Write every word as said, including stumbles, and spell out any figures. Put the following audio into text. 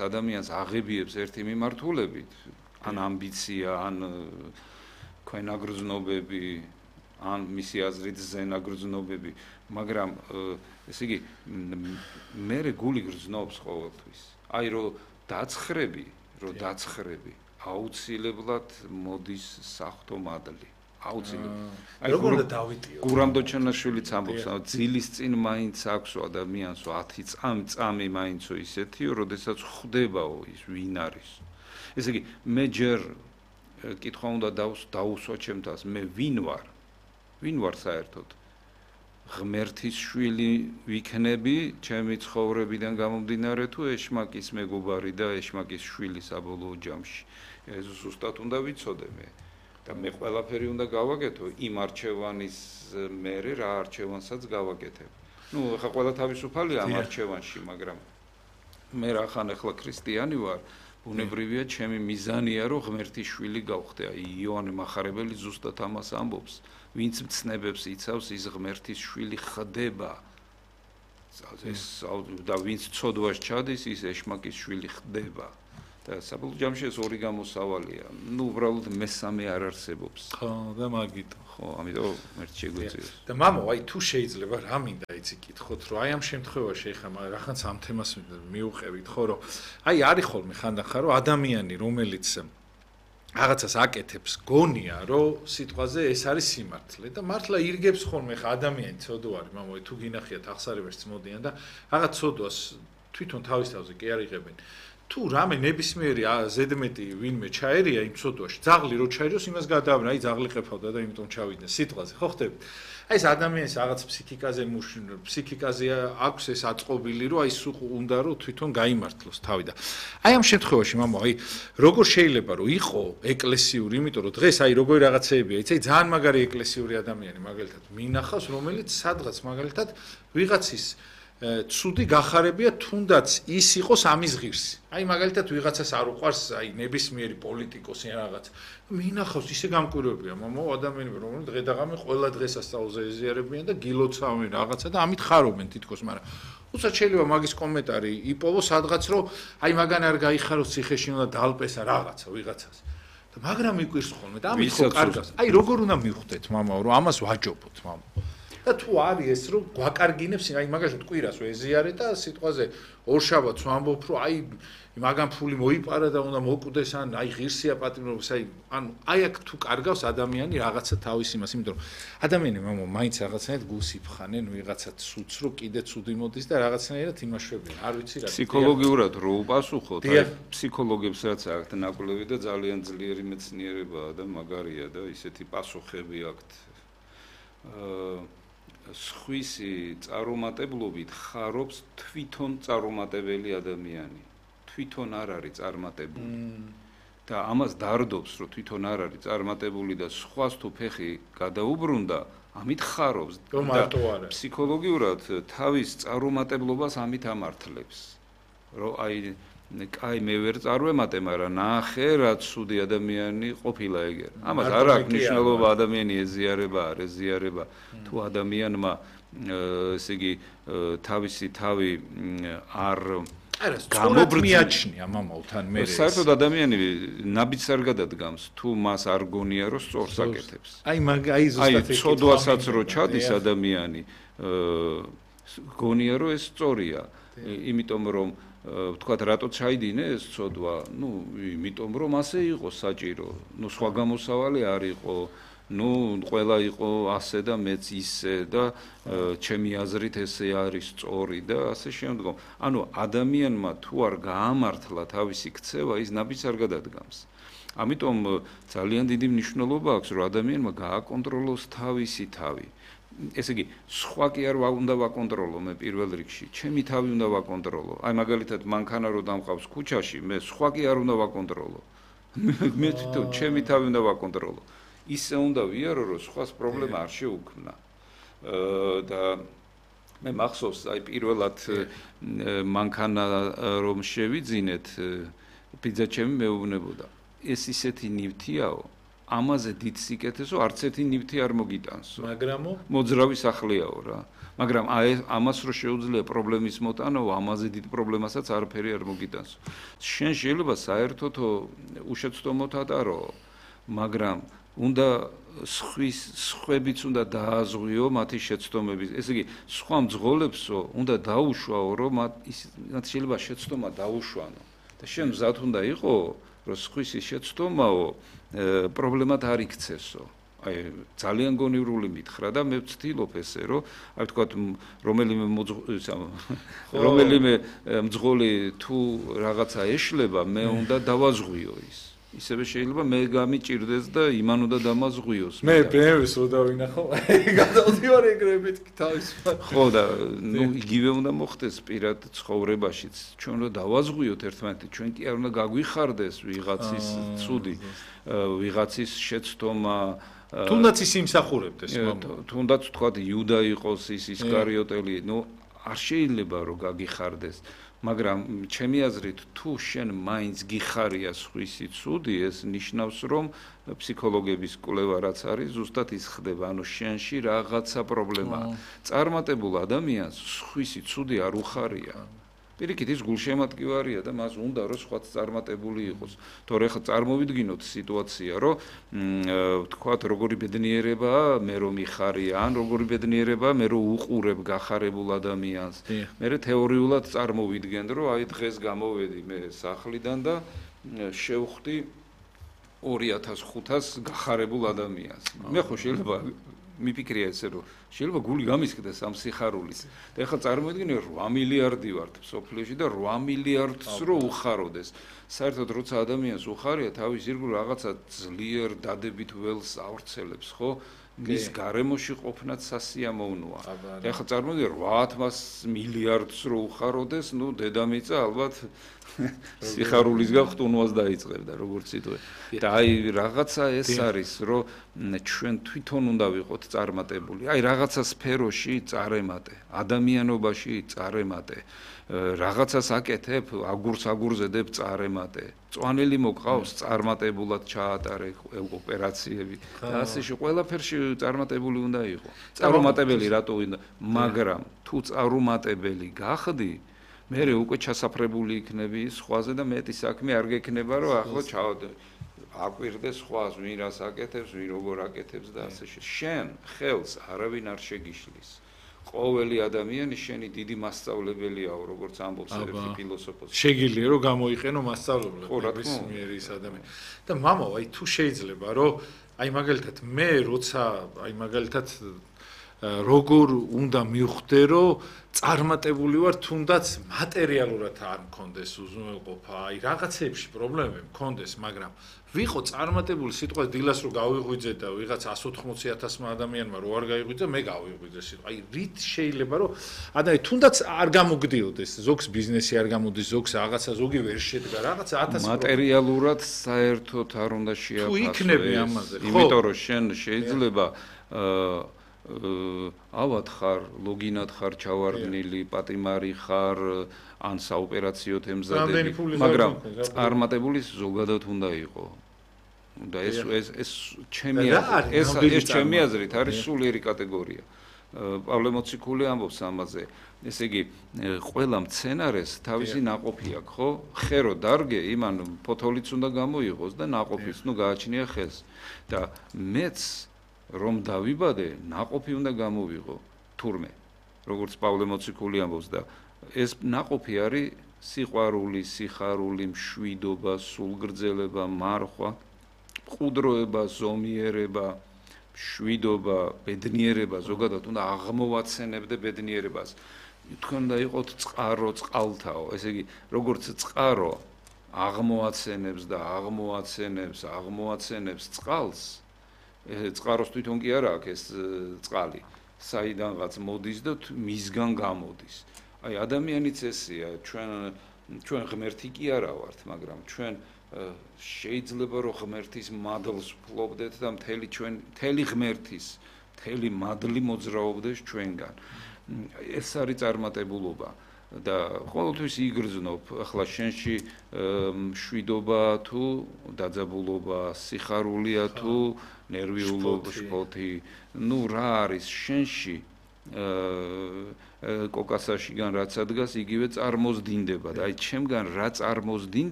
ადამიანს აღებიებს ერთი მიმართულებით, ან ამბიცია, ან ქვენაგრძნობები, ან მისი აზრით ზენაგრძნობები, მაგრამ ესე იგი მე გული გრძნობს ყოველთვის. აი რომ დაცხრები, რომ დაცხრები, აუცილებლად მოდის საღვთო მადლი. აუცილებლად. აი როგორ უნდა დავიტიო? გურამდოჩანაშვილიც ამბობს, ძილის წინ მაინც აქვს ადამიანსო ათი წამი, წამი მაინცო ისეთიო, როდესაც ხვდებაო ის ვინ არის. ესე იგი მე ჯერ კითხვა უნდა დაუსვა ჩემთას, მე ვინ ვარ? ვინ ვარ საერთოდ? ღმერთის შვილი ვიქნები ჩემი ცხოვრებიდან გამომდინარე თუ ეშმაკის მეგობარი და ეშმაკის შვილი საბოლოო ჯამში. ეს ზუსტად უნდა ვიცოდე მე. და მე ყველაფერი უნდა გავაკეთო იმ არჩევანის მერე რა არჩევანსაც გავაკეთებ. ნუ ხა ყველა თავისუფალია ამ არჩევანში, მაგრამ მე რახან ახლა ქრისტიანი ვარ, ბუნებრივია ჩემი მიზანია რომ ღმერთის შვილი გავხდე. აი იოანე მახარებელი ზუსტად ამას ამბობს. ვინც მცნებებს იცავს, ის ღმერთის შვილი ხდება. ეს და ვინც ცოდვას ჩადის, ის ეშმაკის შვილი ხდება. და საბოლოო ჯამში ეს ორი გამოსავალია. ნუ უბრალოდ მესამე არ არსებობს. ხო, და მაგიტო. ხო, ამიტომ მერჩ შეგვიძლია. და მამო, აი თუ შეიძლება რა მინდა იცი კითხოთ, რომ აი ამ შემთხვევაში ეხლა რაღაცა ამ თემას მიუყევით, ხო, რომ აი არის ხოლმე ხანდახან რომ ადამიანი, რომელიც რაღაცას აკეთებს, გონია, რომ სიტყვაზე ეს არის სიმართლე და მართლა ირგებს ხოლმე ხა ადამიანი ცოდო არის, მამო, თუ გინახიათ აღსარებაში მოდიან და რაღაც ცოდვას თვითონ თავის თავზე კი არ იღებენ. თუ რამე ნებისმიერი ზედმეტი ვინმე ჩაერია იმ ცოდვაში, ძაღლი რო ჩაერიოს, იმას გადააბრა, აი ძაღლი ყეფავდა და იმიტომ ჩავიდნენ სიტყვაზე, ხო ხდები? აი ეს ადამიანის რაღაც ფსიქიკაზე ფსიქიკაზე აქვს ეს აწყობილი, რომ აი სულ უნდა რომ თვითონ გაიმართლოს თავი და აი ამ შემთხვევაში, მამო, აი როგორ შეიძლება რომ იყო ეკლესიური, იმიტომ რომ დღეს აი როგორი რაღაცეებია, იცი, აი ძალიან მაგარი ეკლესიური ადამიანი, მაგალითად, მინახავს, რომელიც სადღაც მაგალითად ვიღაცის ცუდი გახარებია თუნდაც ის იყოს ამის ღირსი. აი მაგალითად ვიღაცას არ უყვარს აი ნებისმიერი პოლიტიკოსი რაღაც. მინახავს ისე გამკვირვებია, მამო, ადამიანები რომლებიც დღე და ღამე ყველა დღეს ასწავლზე ეზიარებიან და გილოცავენ რაღაცა და ამით ხარობენ თითქოს, მაგრამ უცად შეიძლება მაგის კომენტარი იპოვო სადღაც რომ აი მაგან არ გაიხაროს ციხეში უნდა დალპესა რაღაცა ვიღაცას. და მაგრამ იკვირს ხოლმე და ამით ხო კარგავს. აი როგორ უნდა მივხვდეთ, მამაო, რომ ამას ვაჯობოთ, მამო. და თუ არის ეს რომ გვაკარგინებს, აი მაგალითად კვირას ვეზიარე და სიტყვაზე ორშაბათს ვამბობ რომ აი მაგან ფული მოიპარა და უნდა მოკვდეს ან აი ღირსია პატრონობს, აი ანუ აი აქ თუ კარგავს ადამიანი რაღაცა თავის იმას, იმიტომ რომ ადამიანი მამო მაინც რაღაცნაირად გულს იფხანენ ვიღაცა ცუდს რომ კიდე ცუდი მოდის და რაღაცნაირად იმაშვებიან. არ ვიცი რა. ფსიქოლოგიურად რო უპასუხოთ, აი ფსიქოლოგებს რაც აქვთ ნაკვლევი და ძალიან ძლიერი მეცნიერებაა და მაგარია და ისეთი პასუხები აქვთ. აა სხვისი წარუმატებლობით ხარობს თვითონ წარუმატებელი ადამიანი. თვითონ არ არის წარმატებული. და ამას დარდობს, რომ თვითონ არ არის წარმატებული და სხვას თუ ფეხი გადაუბრუნდა, ამით ხარობს. და ფსიქოლოგიურად თავის წარუმატებლობას ამით ამართლებს. რომ აი კაი მე ვერ წარვემატე, მაგრამ ნახე რა ცუდი ადამიანი ყოფილა ეგერ. ამას არ აქვს მნიშვნელობა ადამიანი ეზიარება, არ ეზიარება. თუ ადამიანმა ესე იგი თავისი თავი არ გამობრწმიაჩნია მამათან მე. საერთოდ ადამიანი ნაბიჯს არ გადადგამს, თუ მას არ გონია რომ სწორს აკეთებს. აი მაგ აი ზუსტად ეს ცოდვასაც რო ჩადის ადამიანი, გონია რომ ეს სწორია. იმიტომ რომ ვთქვათ რატო ჩაიდინე ეს ცოდვა? ნუ იმიტომ რომ ასე იყო საჭირო. ნუ სხვა გამოსავალი არ იყო. ნუ ყველა იყო ასე და მეც ისე და ჩემი აზრით ესე არის სწორი და ასე შემდგომ. ანუ ადამიანმა თუ არ გაამართლა თავისი ქცევა, ის ნაბიჯს არ გადადგამს. ამიტომ ძალიან დიდი მნიშვნელობა აქვს, რომ ადამიანმა გააკონტროლოს თავისი თავი. ესე იგი, სხვა კი არ უნდა ვაკონტროლო მე პირველ რიგში, ჩემი თავი უნდა ვაკონტროლო. აი მაგალითად მანქანა რო დამყავს ქუჩაში, მე სხვა კი არ უნდა ვაკონტროლო. მე თვითონ ჩემი თავი უნდა ვაკონტროლო. ისე უნდა ვიარო, რომ სხვას პრობლემა არ შეუქმნა. და მე მახსოვს, აი პირველად მანქანა რომ შევიძინეთ, პიძა ჩემი მეუბნებოდა. ეს ისეთი ნივთიაო, ამაზე დიდ სიკეთესო არც ერთი ნივთი არ მოგიტანსო. მაგრამო მოძრავი სახლიაო რა. მაგრამ აი ამას რო შეუძლია პრობლემის მოტანაო, ამაზე დიდ პრობლემასაც არაფერი არ მოგიტანსო. შენ შეიძლება საერთოდ უშეცდომოდ ატარო, მაგრამ უნდა სხვის სხვებიც უნდა დააზღვიო მათი შეცდომები. ესე იგი, სხვა მძღოლებსო უნდა დაუშვაო, რომ მათ შეიძლება შეცდომა დაუშვანო. და შენ მზად უნდა იყო, რომ სხვის შეცდომაო პრობლემად არ იქცესო. აი ძალიან გონივრული მითხრა და მე ვცდილობ ესე, რომ აი თქვა რომელიმე რომელიმე მძღოლი თუ რაღაცა ეშლება, მე უნდა დავაზღვიო ის. ისევე შეიძლება მე გამიჭირდეს და იმან უნდა დამაზღვიოს. მე პრემიეს რო დავინახო, გადავდივარ ეგრებით თავისუფლად. ხო და ნუ იგივე უნდა მოხდეს პირად ცხოვრებაშიც. ჩვენ რო დავაზღვიოთ ერთმანეთი, ჩვენ კი არ უნდა გაგვიხარდეს ვიღაცის ცუდი, ვიღაცის შეცდომა. თუნდაც ის იმსახურებდეს, თუნდაც თქვა იუდა იყოს ის ისკარიოტელი, ნუ არ შეიძლება რომ გაგიხარდეს. მაგრამ ჩემი აზრით თუ შენ მაინც გიხარია სხვისი ცუდი, ეს ნიშნავს რომ ფსიქოლოგების კვლევა რაც არის, ზუსტად ის ხდება, ანუ შენში რაღაცა პრობლემაა. წარმატებულ ადამიანს სხვისი ცუდი არ უხარია. პირიქით ის გულშემატკივარია და მას უნდა რომ სხვაც წარმატებული იყოს. თორე ხა წარმოვიდგინოთ სიტუაცია, რომ თქვათ როგორი ბედნიერებაა, მე რომ მიხარია, ან როგორი ბედნიერებაა, მე რომ უყურებ გახარებულ ადამიანს. მე თეორიულად წარმოვიდგენ, რომ აი დღეს გამოვედი მე სახლიდან და შევხვდი ორი ათას ხუთას გახარებულ ადამიანს. მე ხო შეიძლება მიფიქრია ესე რომ შეიძლება გული გამისკდეს ამ სიხარულით. და ეხლა წარმოიდგინე რვა მილიარდი ვართ სოფლიოში და რვა მილიარდს რო უხაროდეს. საერთოდ როცა ადამიანს უხარია, თავის ირგვლივ რაღაცა ძლიერ დადებით ველს ავრცელებს, ხო? მის გარემოში ყოფნაც სასიამოვნოა. და ეხლა წარმოიდგინე რვა მილიარდს რო უხაროდეს, ნუ დედამიწა ალბათ სიხარულისგან ხტუნვას დაიწყებდა, როგორც იტყვი. და აი რაღაცა ეს არის, რომ ჩვენ თვითონ უნდა ვიყოთ წარმატებული. აი რაღაცა სფეროში წარმატე, ადამიანობაში წარმატე. რაღაცას აკეთებ, აგურს აგურზედებ წარმატე. წვანელი მოყავს, წარმატებულად ჩაატარე ოპერაციები. და ასეში ყველაფერში წარმატებული უნდა იყო. წარუმატებელი რატო უნდა, მაგრამ თუ წარუმატებელი გახდი, მე უკვე ჩასაფრებული იქნები სხვაზე და მეტი საქმე არ გექნება, რომ ახლა ჩავდე. აკვირდეს სხვას, ვინ რას აკეთებს, ვინ როგორ აკეთებს და ასე შემდეგ. შენ ხელს არავინ არ შეგიშლის. ყოველი ადამიანი შენი დიდი მასწავლებელიაო, როგორც ამბობს ერთი ფილოსოფოსი. შეგიძლია რომ გამოიყენო მასწავლებლად ის მიერის ადამიანი. და მამო, აი თუ შეიძლება რომ აი მაგალითად მე როცა აი მაგალითად როგორ უნდა მივხვდე რომ წარმატებული ვარ, თუნდაც მატერიალურად არ მქონდეს უზრუნველყოფა, აი რაღაცეებში პრობლემები მქონდეს, მაგრამ ვიყო წარმატებული სიტყვა დილას რო გავიღვიძე და ვიღაც εκατს ოთხმოცი ათასმა ადამიანმა რო არ გაიღვიძე, მე გავიღვიძე სიტყვა. აი რით შეიძლება რომ ადამიანი თუნდაც არ გამოგდიოდეს, ზოგს ბიზნესი არ გამოდის, ზოგს რაღაცა ზოგი ვერ შედგა, რაღაცა ათასი მატერიალურად საერთოდ არ უნდა შეაფასო. თუ იქნები ამაზე, ხო? იმიტომ რომ შენ შეიძლება აა ავად ხარ, ლოგინად ხარ ჩავარდნილი, პატიმარი ხარ, ან საოპერაციო ემზადები, მაგრამ წარმატებული ზოგადად უნდა იყო. და ეს ეს ეს ჩემი ეს ეს ჩემი აზრით არის სულიერი კატეგორია. პავლე მოციქული ამბობს ამაზე. ესე იგი, ყველა მცენარეს თავისი ნაყოფი აქვს, ხო? ხერო დარგე, იმან ფოთოლიც უნდა გამოიღოს და ნაყოფიც, ნუ გააჩნია ხელს. და მეც რომ დავიბადე, ნაყოფი უნდა გამოვიღო თურმე, როგორც პავლე მოციქული ამბობს და ეს ნაყოფი არის სიყვარული, სიხარული, მშვიდობა, სულგრძელება, მარხვა, მყუდროება, ზომიერება, მშვიდობა, ბედნიერება, ზოგადად უნდა აღმოვაცენებდე ბედნიერებას. თქვენ უნდა იყოთ წყარო წყალთაო, ესე იგი, როგორც წყარო აღმოვაცენებს და აღმოვაცენებს, აღმოვაცენებს წყალს, წყაროს თვითონ კი არა აქვს ეს წყალი, საიდანღაც მოდის და მისგან გამოდის. აი ადამიანიც ესეა, ჩვენ ჩვენ ღმერთი კი არა ვართ, მაგრამ ჩვენ შეიძლება რომ ღმერთის მადლს ვფლობდეთ და მთელი ჩვენ მთელი ღმერთის მთელი მადლი მოძრაობდეს ჩვენგან. ეს არის წარმატებულობა. და ყოველთვის იგრძნობ ახლა შენში მშვიდობა თუ დაძაბულობა, სიხარულია თუ ნერვიულობა, შფოთი, ნუ რა არის შენში კოკასაშიგან რაც ადგას იგივე წარმოზდინდება და აი ჩემგან რა წარმოზდინდება